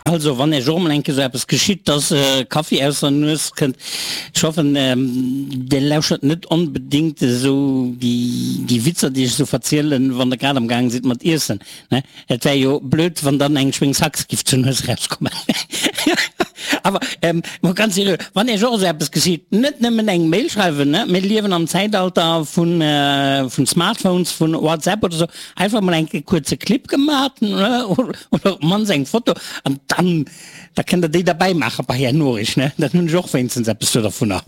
Also wann Iech och emol eng Kéier esou eppes geschitt, dass Kaffi aus der Nues kënnt, ech hoffen Dir lauschert net onbedingt esou déi Witzer déi ech esou verzielen, wann der grad am gaang sidd mat iessen, ne? Et wär jo blöd wann dann eng Schwéngshax giff zur Nues erauskommen. Awer mol ganz seriö, wann Iech och esou eppes geschitt, net nëmmen eng Mail schreiwen, ne? Mir liewen am Zäitalter vun Smartphones, vun WhatsApp oder esou, Einfach mol eng kuerze Clip gemat oder op mannst eng Foto an dann da kënnt der déi derbäi maache bei är Noriicht ne, dann hunn ech och wéinstens eppes do dervunner.